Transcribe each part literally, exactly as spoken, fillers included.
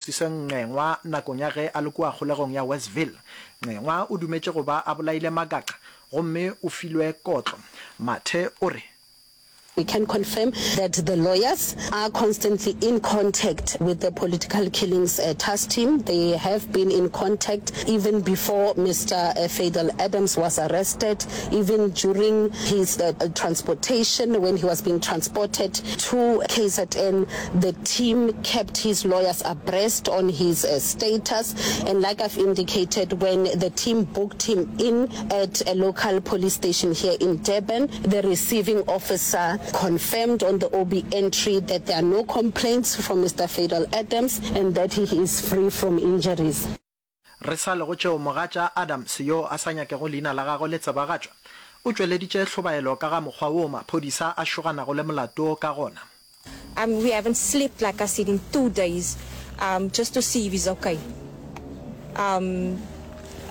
Sise Ncengwa nakong ya ge a le kua kgolegong ya Westville. Ncengwa o dumetše go ba a bolaile Magaqa gomme o filwe kotlo. Mathe o re. We can confirm that the lawyers are constantly in contact with the political killings task team. They have been in contact even before Mister Fadel Adams was arrested, even during his transportation, when he was being transported to K Z N, the team kept his lawyers abreast on his status. And like I've indicated, when the team booked him in at a local police station here in Durban, the receiving officer confirmed on the O B entry that there are no complaints from Mister Fadel Adams and that he is free from injuries. Re sa le go tšeo, mogatša Adams yo a sa nyakego leina la gagwe le tsebagatšwa, o tšweleditše hlobaelo ka ga mokgwa woo maphodisa a šoganago le molato wo ka gona. Um we haven't slept like I said in two days um just to see if he's okay. Um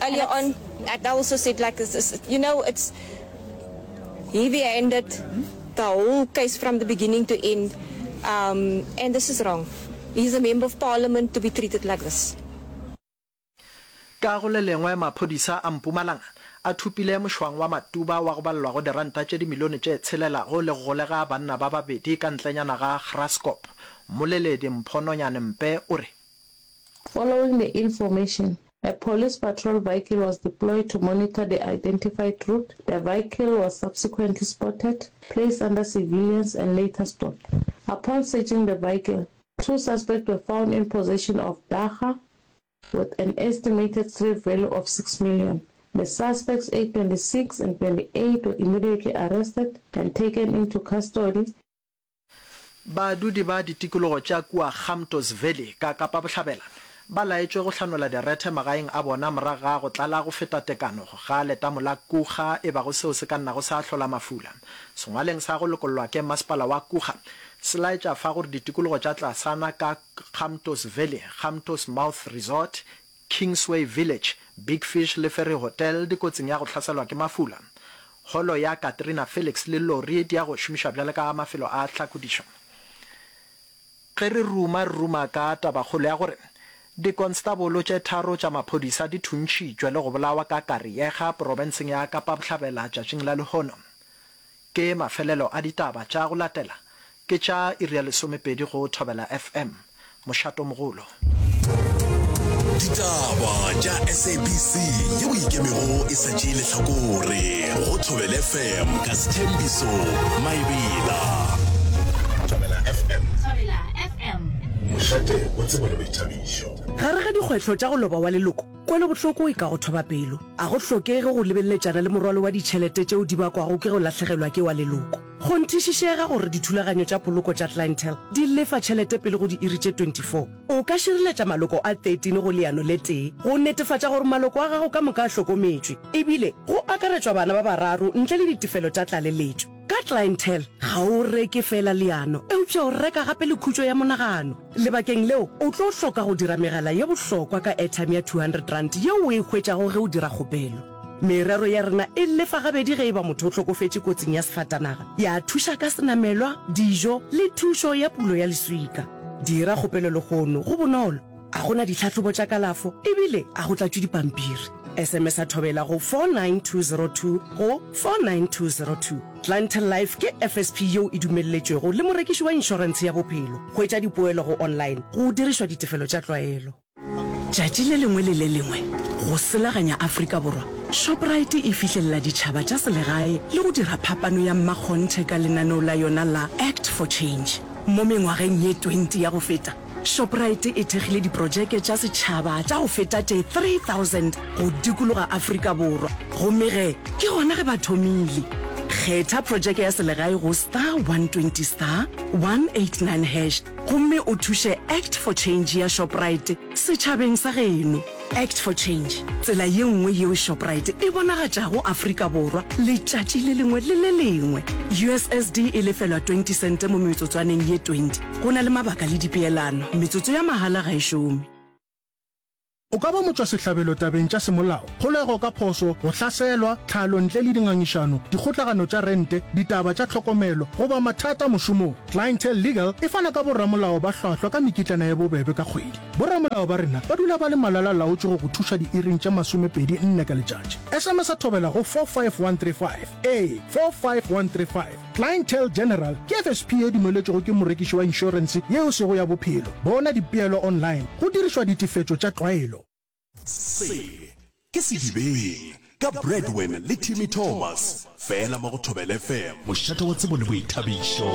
earlier on I also said like you know it's heavy handed the whole case from the beginning to end um and this is wrong. He's a member of parliament to be treated like this. Ka go le lengwe, maphodisa a Mpumalanga a thopile mošwang wa Matuba wa go balelwa go diranta tše dimilione tše tshelelago le go golega banna ba babedi ka ntlenyana ga Graskop. Mmoleledi Mpho Nonyane Mpe o re. Following the information, a police patrol vehicle was deployed to monitor the identified route. The vehicle was subsequently spotted, placed under surveillance and later stopped. Upon searching the vehicle, two suspects were found in possession of dagga with an estimated street value of six million. The suspects, aged twenty-six and twenty-eight, were immediately arrested and taken into custody. Badudi ba ditikologo tša kua Gamtoos Valley ka Kapa Bohlabela ba laetšwe go hlanola direthe magaeng a bona morago ga go tlala go feta tekano ga letamo la Kuga e bago seo se ka nnago sa hlola mafula. Sengwaleng sa go lokollwa ke masepala wa Kuga se laetša fa gore ditikologo tša tlasana ka Gamtoos Valley, Gamtoos Mouth Resort, Kingsway Village, Big Fish le Ferry Hotel di kotsing ya go hlaselwa ke mafula. Holo ya Katrina Felix le lori di ya go šomišwa bjale ka mafelo a tlhakodišo. Ge re ruma, re ruma ka tabakgolo ya gore dikonstabolo tše tharo tša maphodisa di thuntšhitšwe le go bolawa ka Kariega, porofenseng ya Kapa Bohlabela tšatšing la lehono. Ke mafelelo a ditaba tša go latela ke tša iri ya lesomepedi go Thobela F M. Mošatomogolo. Ditaba tša S A B C yeo e ikemego e sa tšee lehlakore go Thobela F M ka Sthembiso Maebela. Thobela F M. Thobela F M. Mošate wa tsebo le boithabišo. Gare ga dikgwehlo tša go loba wa leloko, kwelobohloko e ka go thoba pelo. A go hlokege go lebeleletšana le morwalo wa ditšhelete tšeo di bakwago ke go lahlegelwa ke wa leloko. Kgonthišišega gore dithulaganyo tša poloko tša Clientele di lefa tšhelete pele go diiri tše twenty-four. O ka šireletša maloko a thirteen go leano le tee go netefatša gore maloko a gago ka moka a hlokometšwe, ebile go akaretšwa bana ba bararo ntle le ditefelo tša tlaleletšo. Ka Clientele, ga o reke feela leano, eupša o reka gape le khutšo ya monagano. Lebakeng leo, o tlo hloka go dira megala ye bohlokwa ka airtime ya two hundred rand yeo o e hwetšago ge o dira kgopelo. Merero ya rena e lefa gabedi ge e ba motho o hlokofetše kotsing ya sefatanaga, ya thuša ka senamelwa, dijo le thušo ya pulo ya leswika. Dira kgopelo lehono, go bonolo, a go na ditlhahlobo tša kalafo ebile a go tlatšwe dipampiri. S M S a Thobela go four nine two zero two go four nine two zero two. Clientele Life ke F S P yeo e dumelletšwego le morekiši wa inšorentshe ya bophelo. Hwetša dipoelo go online go dirišwa ditefelo tša tlwaelo. Tšatši le lengwe le le lengwe, go selaganya Afrika Borwa, Shoprite e fihlelela ditšhaba tša selegae le go dira phapano ya mmakgonthe ka lenaneo la yona la Act for Change. Mo mengwageng ye twenty ya go feta, Shoprite e thekgile diprojeke tša setšhaba tša go feta tše three thousand go dikologa Afrika Borwa, gomme ge ke gona ge ba thomile. Kgetha projeke ya selegae go star one twenty star one eight nine hash gomme o thuše Act for Change ya Shoprite setšhabeng sa geno. Act for Change, tsela ye nngwe yeo Shoprite e bonagatšago Afrika Borwa letšatši le lengwe le le lengwe. U S S D e lefelwa twenty sente mo metsotswaneng ye twenty. Go na le mabaka le dipeelano, metsotso ya mahala ga e šome. O ka ba motšwasehlabelo tabeng tša semolao, kgolego ka phošo, go hlaselwa, tlhalo ntle le dingangišano, dikgotlagano tša rente, ditaba tša tlhokomelo, goba mathata mošomong. Clientele Legal e fana ka boramolao ba hlwahlwa ka mekitlana ye bobebe ka kgwedi. Boramolao ba rena ba dula ba le malala-laotšwe go go thuša diiring tše masomepedi nne ka letšatši. S M S Thobela go four five one three five. Ee, four five one three five. Clientele General ke F S P ye dumeletšwego ke morekiši wa inšorense ye e sego ya bophelo. Bona dipeelo online go dirišwa ditefetšo tša tlwaelo. Se ke Sedibeng ka Bradwin le Timmy Thomas, fela mo go Thobela F M, mošate wa tsebo le boithabišo.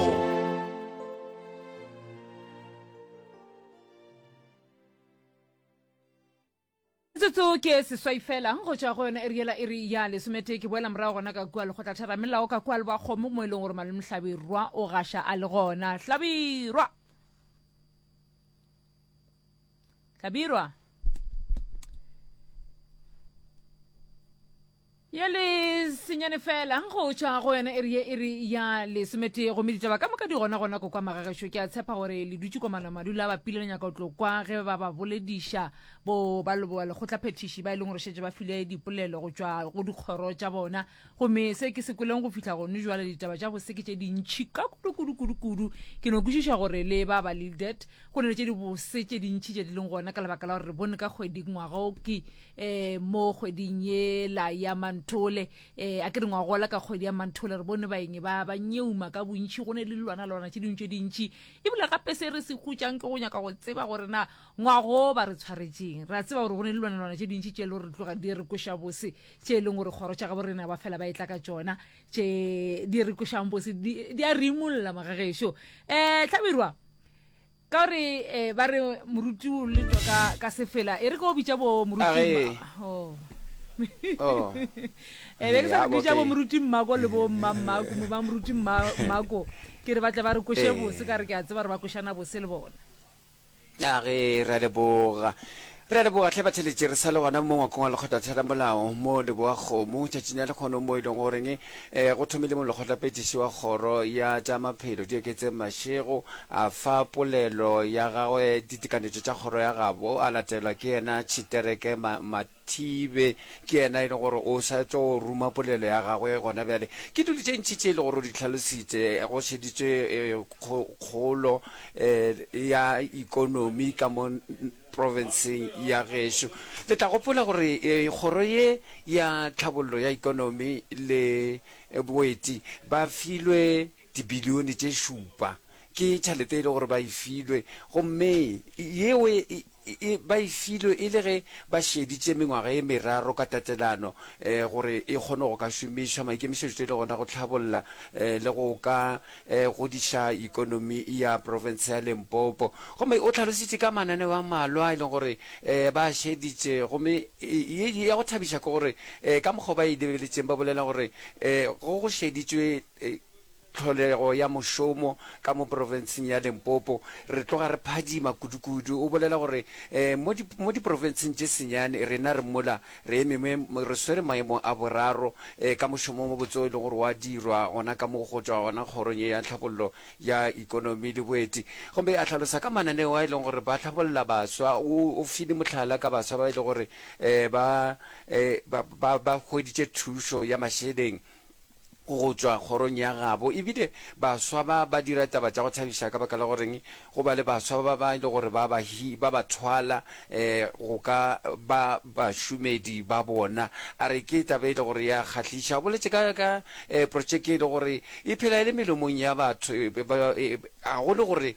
Metsotso ke seswai fela go tšwa go yona iri yela iri ya lesometee. Ke boela morago gona ka kua lekgotlatheramelao ka kua Lebakgomo mo e leng gore malome Hlabirwa o gaša a le gona. Hlabirwa! Hlabirwa! Ye le senyane fela go tšwa go yona iri ye iri ya lesometee, gomme ditaba ka moka di gona gona ko kwa magagešo. Ke a tshepa gore le dutše komana madula a bapile le nyaka go tlo kwa ge ba ba bolediša bo ba leboa lekgotlaphethiši ba e leng gore šetše ba file dipolelo go tšwa go dikgoro tša bona. Gomme se ke se kweleng go fihla gone jwale, ditaba tša bose ke tše dintšhi ka kudu kudu kudu kudu. Ke no kwešiša gore le ba ba Lildet go ne le tše dibose tše dintšhi tše di leng gona, ka lebaka la gore re bone ka kgwedi ngwaga o ke um mo kgweding yela ya Manthole, um a ke re ngwagola ka kgwedi ya Manthole, re bone baeng ba ba nyeuma ka bontšhi, go ne le dilwana-lwana tše dingwe tše dintšhi. Ebile gape se re se hutšang ke go nyaka go tseba gore na ngwago ba re tshwaretšeng. Re a tseba gore go ne le dilwana-lwana tše dintšhi tše e le gore tloga di re kweša bose, tše e leng gore kgoro tša gabo rena ba fela ba e tla ka tšona, tše di re kwešang bose, di a re imolla magagešo. um Hlabirwa, ka gore eh, ba re moruti o letwa ka, ka sefela, e re ke o bitša bo moruti oh. oh. eh, be ke sa re bitša bo moruti Mmako le bo mma Mmako, ba moruti Mmako, ke re ba tle ba re kweše bose, ka re ke a tseba re ba kwešana bose le bona. A ge re a leboga. Re a leboga hle batheletši, re sa le gona mo ngwakong wa lekgotlatheramolao mo Leboakgomo tšatšing la lekgono, mo e leng goreng eh, go thomile molekgotlapethiši wa kgoro ya tša maphelo Dieketseng Mashego a fa polelo ya gagwe ditekanetšo tša kgoro ya gabo, a latelwa ke yena Tšhitereke Mathibe, ke yena e leng gore o sa tšo ruma polelo ya gagwe gona bjale. Ke dilo tše ntši tše e le gore o di hlalositše, go šeditšwe eh, kgolo eh, ya ikonomi ka mo profenseng ya gešo. Le tla gopola gore kgoro ye ya tlhabollo ya ikonomi le boeti ba filwe dibilione tše šupa. Ke tšhelete e le gore ba e filwe, gomme yeo ba e filwe e le ge ba šeditše mengwaga ye meraro ka tatelano gore e kgone go ka šomišwa. Maikemišetšo e le gona go tlhabolla le go ka godiša ikonomi ya profense ya Limpopo. Gomme o hlalositše ka mananeo a mmalwa e leng gore ba a šeditše, gomme ye ya go thabiša ke gore ka mokgwa ba e lebeletšeng ba bolela gore go go šeditšwe tlholego ya mošomo ka mo profenseng ya Limpopo, re tloga re phadima kudu-kudu. O bolela gore mo mo diprofenseng tše senyane rena re mola re eme re swere maemo a boraro ka mošomo o mobotse o e leng gore wa dirwa gona ka mo go tšwa gona kgorong ye ya tlhabollo ya ikonomi le boeti. Gomme a hlalosa ka mananeo a e leng gore ba hlabolla baswa. O o file mohlala ka baswa ba e leng gore ba ba ba hweditše thušo ya mašeleng go tšwa kgorong ya gabo. E bile baswa ba ba dira taba tša go thabiša ka baka la goreng go ba le baswa ba ba e le gore ba ba hi ba ba thwala um go ka ba bašomedi ba bona. A re ke taba e le gore ya kgahliša. O boletše ka ka um protšeke e le gore e phela e le melomong ya batho, ga go le gore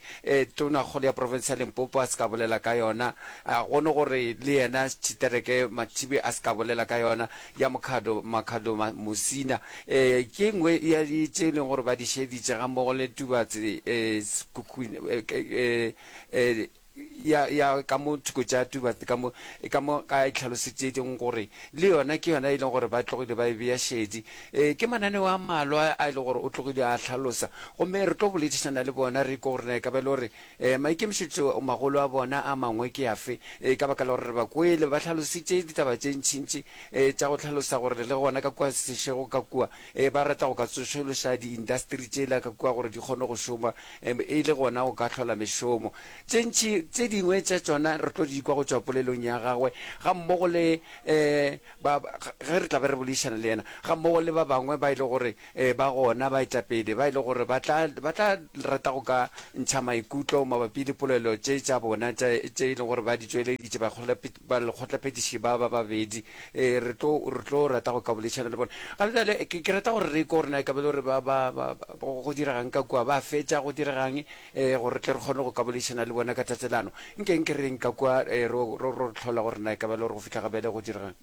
Tonakgolo ya profense ya Limpopo a se ka bolela ka yona, ga go ne gore le yena Tshitereke Mathibe a se ka bolela ka yona. Ya Mokhado, Makhado Musina, e, ke e nngwe ya tše e leng gore ba di šeditše gammogo le Tubatse, e, Sekhukhune, e, e, ya, ya ka mo thoko tša Tubatse ka mo, ka mo ka e hlalosetšeng gore le yona ke yona e leng gore ba tlogile ba e bea šedi. E, ke mananeo a mmalwa a e leng gore o tlogile a hlalosa, gomme re tlo boledišana le bona re kwe gore na e ka ba e le gore E, maikemišetšo magolo a bona a mangwe ke afe? E, ka baka la gore re ba kwele ba hlalositše ditaba tše ntšintši e, tša go hlalosa gore le gona ka kua Seshego ka kua e, ba rata go ka tsošološa diindasteri tšela ka kua gore di kgone go šoma e, e le gona go ka hlola mešomo. Tše ntši Tše dingwe tša tšona re tlo di kwa go tšwa polelong ya gagwe gammogo le um ba, ge re tla be re boledišana le yena, gammogo le ba bangwe ba e le gore um ba gona baetapele ba e le gore ba tla, ba tla rata go ka ntšha maikutlo mabapi le polelo tše tša bona tša, tše e leng gore ba di tšweleditše balekgotlaphethiši ba ba babedi. Um re tlo, re tlo rata go ka boledišana le bona. Ga bjale ke, ke rata gore re kwe gore na e ka ba e le gore ba, ba, ba, go diregang ka kua, ba fetša go diregang, um gore re tle re kgone go ka boledišana le bona ka tatelano. Nke nke re yeng ka kua, um ro, ro, ro hlola gore na e ka ba e le gore go fihla ga bjale go diregang.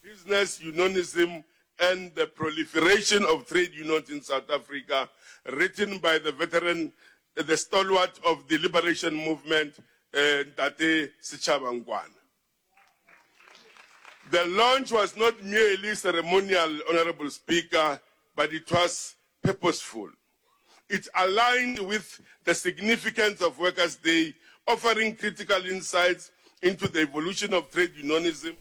Business Unionism and the Proliferation of Trade Unions in South Africa, written by the veteran, the stalwart of the liberation movement, Ntate Sechaba Nkwana. The launch was not merely ceremonial, Honorable Speaker, but it was purposeful. It aligned with the significance of Workers' Day, offering critical insights into the evolution of trade unionism.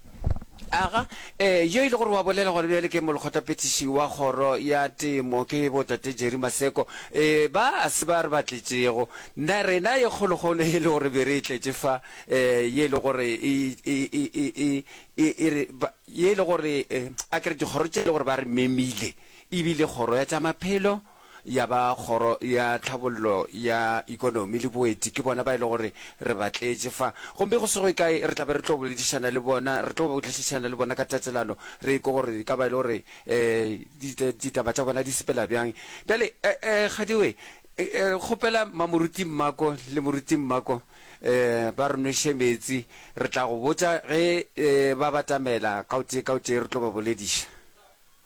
Aga, ee, yo e le gore wa bolela gona bjale ke molekgotlaphethiši wa kgoro ya temo, ke botate Jerry Maseko. Ee, ba a se ba re ba tletšego. Na rena ye kgolokgolo e le gore be re e tletše fa, ee, ye e le gore e, e, e, e, e, e, e re, ba, ye e le gore, ee, a ke re dikgoro tše e le gore ba re memile, e bile kgoro ya tša maphelo, ya ba Kgoro ya Tlhabollo ya Ikonomi le Boeti, ke bona ba e le gore re ba tletše fa. Gomme go se go ye kae re tla be re tlo boledišana le bona, re tlo boledišana le bona ka tatelano, re kwe gore e ka ba e le gore um ditaba tša bona di sepela bjang. Bjale, um Kgadiwe, kgopela Mamoruti Mmako le Moruti Mmako um ba re nweše meetse, re tla go botša ge um ba batamela ka o tee ka o tee re tlo ba bolediša.